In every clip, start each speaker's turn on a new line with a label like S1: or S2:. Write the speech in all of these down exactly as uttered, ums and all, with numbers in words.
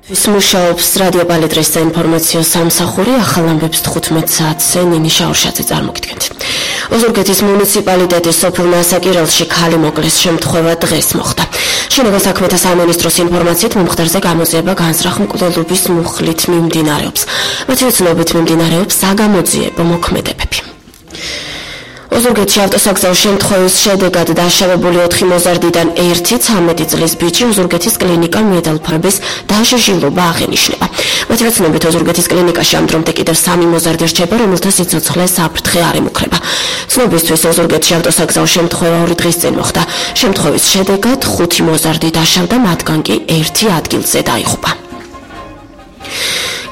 S1: მუშაობს რადიო პალიტრის საინფორმაციო სამსახური, ახალ ამბებს თხუთმეტ საათზე ნინი შაურშაძე წარმოგიდგენთ. ოზურგეთის მუნიციპალიტეტის სოფელ მასაკირელში ქალი მოკლის შემთხვევა დღეს მოხდა. შინაგან საქმეთა სამინისტროს ინფორმაციით მომხდარზე გამოძიება განზრახ-მკვლელობის მუხლით მიმდინარეობს. მათი ცნობით მიმდინარეობს საგამოძიებო მოქმედებები. ოზურგეთში ავტოსაგზაო შემთხვევის შედეგად დაშავებული ოთხი მოზარდიდან ერთი ცამეტი წლის ბიჭი ოზურგეთის კლინიკა მიედალფარების დაშიჟილობა აღენიშნება. მათი ცნობით ოზურგეთის კლინიკაში ამ დრომდე კიდევ სამი მოზარდი რჩება, რომელთა სიცოცხლე საფრთხე არ ემუქრება. ცნობისთვის ოზურგეთში ავტოსაგზაო შემთხვევა ორი დღის წინ მოხდა. შემთხვევის შედეგად ხუთი მოზარდი დაშავდა, მათგან კი ერთი ადგილზე დაიღუპა.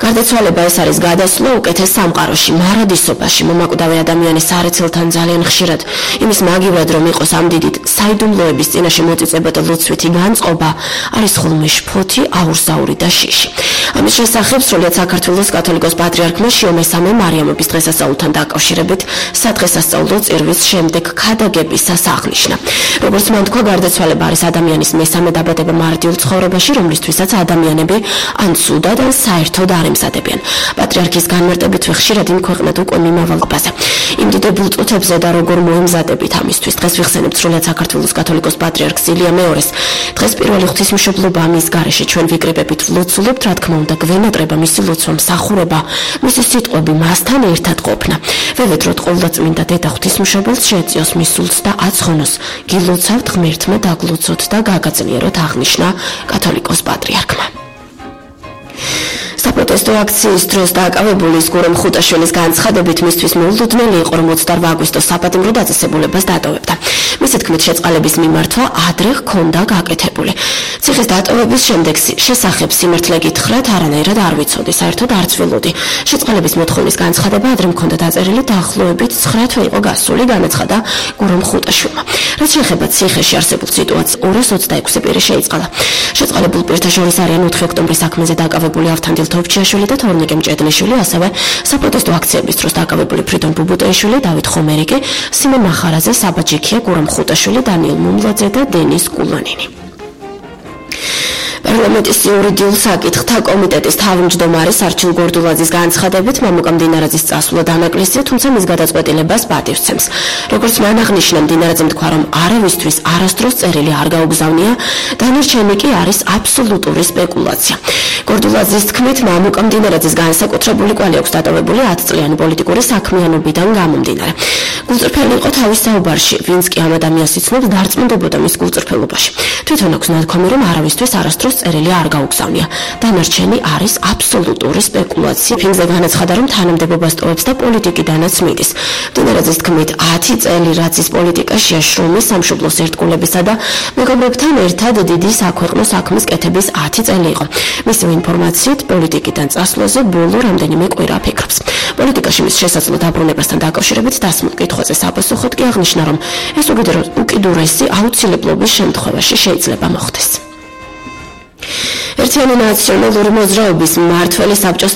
S1: გარდაცვალება ეს არის გადასვლა უკეთეს სამყაროში, მარადისობაში, მომაკვდავი ადამიანის სარეცელთან ძალიან ხშირად იმის მაგივრად რომ იყოს ამ დიდით საიდუმლოების წინაშე მოწიწებად ლოცვითი განწყობა არის ხოლმე შფოთი, აურზაური და შიში. ამის შესახებ სრულიად საქართველოს კათოლიკოს პატრიარქმა შიო მესამე მარიამობის დღესასწაულთან დაკავშირებით სადღესასწაულო წირვის შემდეგ ქადაგების აღნიშნა. როგორც მან თქვა, გარდაცვალება არის ადამიანის მესამე დაბადება მარტივ ცხოვრებაში, რომლისთვისაც ადამიანები ან ცუდად ან საერთოდ არ ემზადებიან. პატრიარქის განმარტებით ხშირად იმქვეყნათ უკვე მიმავალობაზე. იმდიდებულ წუთებზე და როგორ მოემზადებით ამისთვის. დღეს ვიხსენებთ სრულიად საქართველოს კათოლიკოს პატრიარქს ილია მეორის. დღეს პირველი ღვთისმშობლობა ამის გარეშე ჩვენ ვიკრიბებით ვლოცულებთ, რა თქმა უნდა, გვენატრება მისი ლოცვა, მსახურება, მისი სიტყვები მასთან ერთად ყოფნა. ვევედროთ ყოვლადწმინდა დედა ღვთისმშობელს შეეწიოს მის სულს და აცხონოს. გილოცავთ ღმერთმა დაგლოცოთ და გაგაძლიეროთ, აღნიშნა კათოლიკოს პატრიარქმა. საპროტესტო აქციის დროს დააკავებული გურამ ხუტაშვილის განცხადებით მისთვის მოულოდნელი იყო, რომ ოცდაორ აგვისტოს საპატიმრო დაწესებულებას დატოვებდა. მისი თქმით, შეწყალების მიმართვა ადრე ჰქონდა გაკეთებული. ციხის დატოვების შემდეგ შესახებ სიმართლე გითხრათ, არანაირად არ ვიცოდი, საერთოდ არც ველოდი. შეწყალების მოთხოვნის განცხადება ადრე მქონდა დაწერილი, დაახლოებით ცხრა თვე იყო გასული, განაცხადა გურამ ხუტაშვილმა. რაც შეეხება ციხეში არსებულ სიტუაციას, ორას ოცდაექვსი პირი შეიწყალა. შეწყალებულ პირთა შორის არიან ოთხი ოქტომბრის საქმეზე დაკავებული ავთანდილ თოფჩიაშვილი და თორნიკე მჭედლიშვილი, ასევე საპროტესტო აქციების დროს დაკავებული ფრიდონ ბუბუტეიშვილი, დავით ხომერიკი, სიმონ მახარაძე, საბა ჯიქია, გურამ ხუტაშვილი, დანიელ მუმლაძე და დენის კულანინი. პარლამენტის იურიდიულ საკითხთა კომიტეტის თავმჯდომარის არჩილ გორდულაძის განცხადებით მამუკა მდინარაძის წასვლა დანაკლისია, თუმცა მის გადაწყვეტილებას პატივცემს. როგორც მან აღნიშნა, მდინარაძემ თქვა, რომ არავისთვის არასდროს წერილი არ გაუგზავნია, დანარჩენი კი არის აბსოლუტური სპეკულაცია. გორდულაძის თქმით, მამუკა მდინარაძის განსაკუთრებული კვალი აქვს დატოვებული ათწლიანი პოლიტიკური საქმიანობიდან გამომდინარე. გულწრფელი იყო თავის საუბარში, ვინც კი ამ ადამიანს იცნობს, დარწმუნდებოდა მის გულწრფელობაში. თვითონ აქვს ნათქვამი, რომ არავისთვის არასდროს წერილი არ გაუგზავნია. დანარჩენი არის აბსოლუტური სპეკულაცია. ფინზე განაცხადა, რომ თანამდებობას ტოვებს და პოლიტიკიდანაც მიდის. მდინარაძის თქმით, ათი წელი რაც ის პოლიტიკაშია, შრომის, სამშობლოს ერთგულებისა და მეგობრებთან ერთად დიდი საქვეყნო საქმის კეთების ათი წელი იყო. მისი ინფორმაციით, პოლიტიკიდან წასვლაზე ბოლო რამდენიმე კვირა ფიქრობს. პოლიტიკაში მის შესაძლო დაბრუნებასთან დაკავშირებით დასმულ კითხვაზე საპასუხოდ კი აღნიშნა, რომ ეს უკიდურესი აუცილებლობის შემთხვევაში შეიძლება მოხდეს. ერთიანი ნაციონალური მოძრაობის მმართველი საბჭოს